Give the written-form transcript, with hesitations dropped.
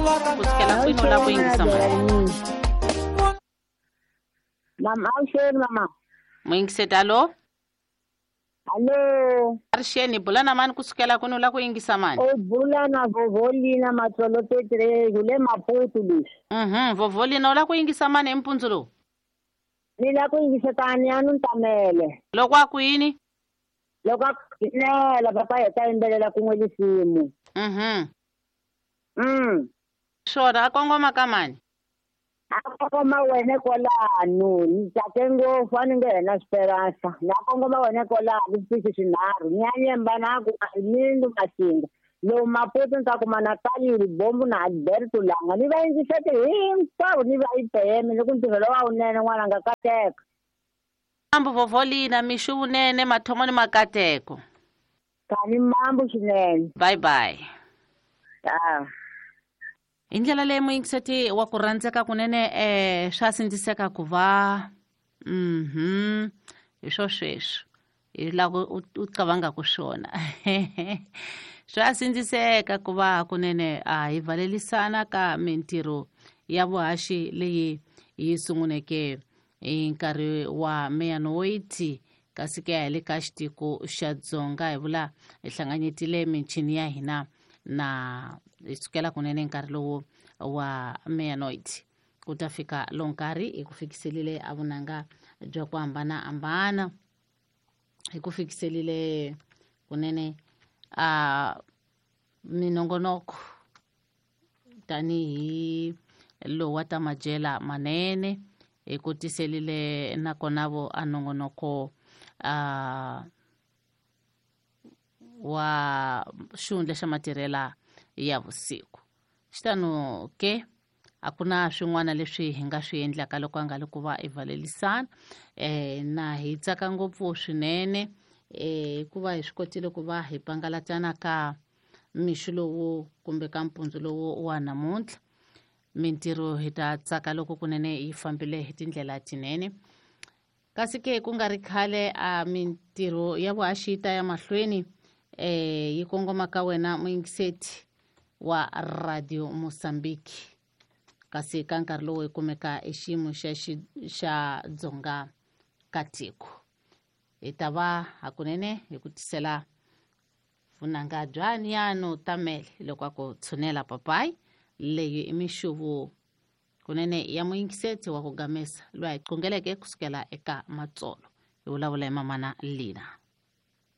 Ku sukela kwini u lava ku yingisa mani? Mama, avuxeni mama. Muyingiseti, alo? Hallo. Arixeni, bula na mani ku sukela kwini u lava ku yingisa mani? U bula na Vovolina Matsolo Petrezi le Maputo leswi. Vovolina, u lava ku yingisa mani hi mpundzu lowu? Ni lava ku yingisa tani ya Ntamele. Loko a ku yini? Loko a ku yinela papa hi ta yimbelela kun'we lisimu. Swona a kongoma ka mani? A kongoma wena kwalano, ni tsake ngopfu a ni nge hena Esperanza. Na kongoma wena kwalano switichi swinharhu, Nyanyemba na ku Mindu Masinga. Lowu Maputo ni ta kuma na Kalili Bombo na Alberto Langa. Ni va yingisete hinkwavo ni va IPM ni ku ntirho lowu a wunene n'wananga kateka. Mambo Vovolina, mixo vunene, mathomo ni makateko. Kani mambo swinene. Bye bye. Ah. Hi ndlela leyi muyingiseti wa ku rhandzeka kunene swa sindziseka ku va hi swo sweswo hi lava u cabangaka swona. Swa sindziseka ku va kunene a hi valelisana ka mintirho ya vuhaxi leyi yi sunguneke hi nkarhi wa meyanoiti, kasi ke ya hi le ka xitiko xa Dzonga hi vula hi hlanganyetile michini ya hina na hi sukela kunene nkarhi lowu wa meyanoiti ku ta fika lo nkarhi hi ku fikiselile a vunanga bya ku hambanahambana, hi ku fikiselile kunene a minongonoko tanihi lowu wa ta madyela manene, hi ku tiselile nakona vo a nongonoko a wa xihundla xa matirhela ya vusiku. Xitano ke a ku na swin'wana leswi hi nga swi endlaka loko a nga ri ku va i valelisana. Na hi tsaka ngopfu swinene hikuva hi swi kotile ku va hi pangalatana ka mixo lowu kumbe ka mpundzu lowu wa namuntlha. Mintirho hi ta tsaka loko kunene yi fambile hi tindlela tinene. Kasi ke ku nga ri khale a mintirho ya vuhaxi yi ta ya mahlweni yi kongoma ka wena muyingiseti wa Radio Mozambique. Kasi ka nkarhi lowu hi kumeka e xiyimo xa xa Dzonga ka tiko. Hi ta va hakunene hi ku tisela vunanga bya Niano Tamele loko a ku tshunela papayi leyi i mixuvu kunene ya muyingiseti wa ku gamesa loyi a hi qongeleke kusukela eka Matsolo. Hi vulavula hi mamana Lina.